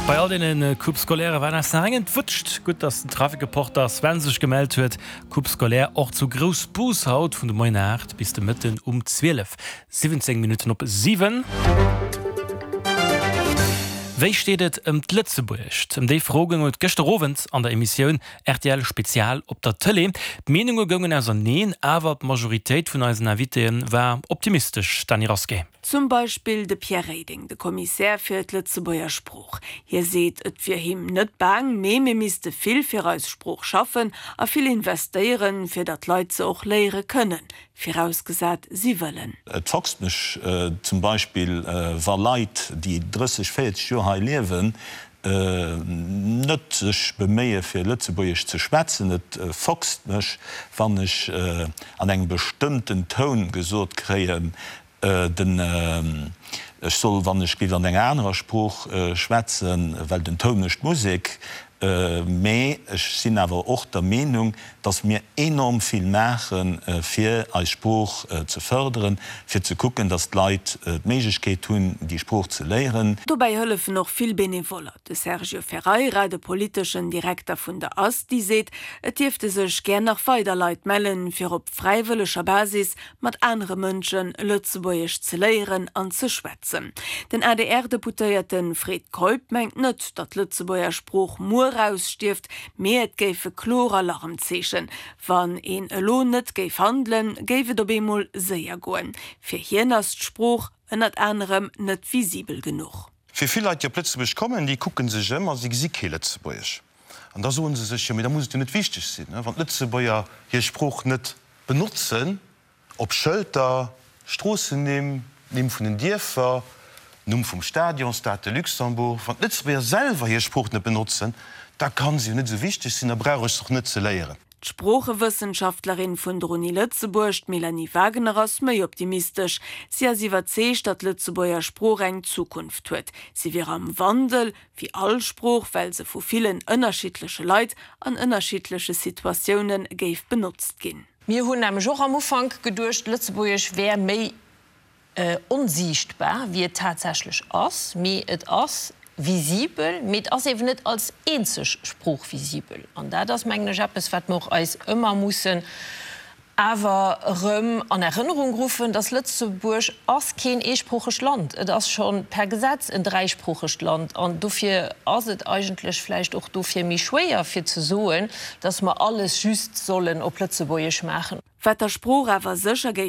Bei all deene Coupe Scolairë war eis nach eng entwutscht. Gutt, dass den Trafikreporter Sven sech gemellt huet. Coupe Scolaire och zu Groussbus haut vun de Moien 8 bis de Mëtten um 12. 17 Minutten op 7. Wéi steet et ëm d'Lëtzebuergescht? Ëm déi Fro goung et gëschter Owend an der Emissioun rtl Spezial op der Tëlee. D'Meenunge goungen auserneen, awer d'Majoritéit vun eisen Invitéë war optimistesch. Dany Rasqué. Zum Beispill de Pierre Reding, de Kommissär fir d'Lëtzebuerger Sprooch. Hie seet, et wier him net baang, mee mir misste vill fir eis Sprooch schaffen a vill investéieren, fir datt d'Leit se och léiere kënnen. Virausgesat si wëllen. Et foxt mech zum Beispill, wa Leit, déi 30, 40 Joer hei liewen, net sech beméie fir Lëtzebuergesch ze schwätzen. Et foxt mech, wann ech an engem bestëmmten Toun gesot kréien, den, ech soll, wann ech géif an enger anerer Sprooch schwätzen, well den Toun mécht d'Musek. Mee ech sinn awer och der Meenung, dass mir enorm vill maachen, fir eis Sprooch ze fërderen, fir ze kucken, dass d'Leit d'Méiglechkeet hunn, déi Sprooch ze léieren. Dobäi hëllefen och vill Benevoller. De Sergio Ferreira, de politeschen Direkter vun der ASTI, seet, et dierfte sech gär nach weider Leit mellen, fir op fräiwëlleger Basis mat anere Mënsche Lëtzebuergesch ze léieren an ze schwätzen. Den ADR-Deputéierte Fred Keup mengt net, datt d'Lëtzebuerger Sprooch muer ausstierft, mee et géife kloer Alarmzeechen. Wann een elo net géif handelen, géif et op eemol séier goen. Fir hien ass d'Sprooch ënnert anerem net visibel genuch. Fir vill Leit, déi op Lëtzebuerg kommen, déi kucke sech ëm a si gesi kee Lëtzebuergesch. An da soe se sech, jo mee da muss et jo net wichteg sinn, wann d'Lëtzebuerger hir Sprooch net benotzen, op Schëlter, Stroossennimm, Nimm vun den Dierfer, Numm vum Stadion, Stade de Luxembourg. Wann d'Lëtzebuerger selwer hir Sprooch net benotzen, da ka se jo net esou wichteg sinn, da brauch ech se och net ze léieren. D'Sproochewëssenschaftlerin vun der Uni Lëtzebuerg, d'Mélanie Wagener, ass méi optimistesch. Si ass iwwerzeegt, datt d'Lëtzebuerger Sprooch eng Zukunft huet. Si wier am Wandel, wéi all Sprooch, well se vu villen ënnerschiddleche Leit an ënnerschiddleche Situatioune géif benotzt ginn. Mir hunn nämlech och am Ufank geduecht, Lëtzebuergesch wär méi onsiichtbar, wéi et tatsächlech ass. Mee et ass visibel, mee et ass eeben net als eenzeg Sprooch visibel. An dat ass, mengen ech, eppes, wat mer och eis ëmmer mussen awer erëm an Erënnerung ruffen, dass Lëtzebuerg ass keen eesproochegt Land, et ass scho per Gesetz en dräisproochegt Land an dofir ass et eigentlech vläicht och dofir méi schwéier fir ze soen, dass mer alles just sollen op Lëtzebuergesch maachen. Wat der Sprooch awer sécher géif.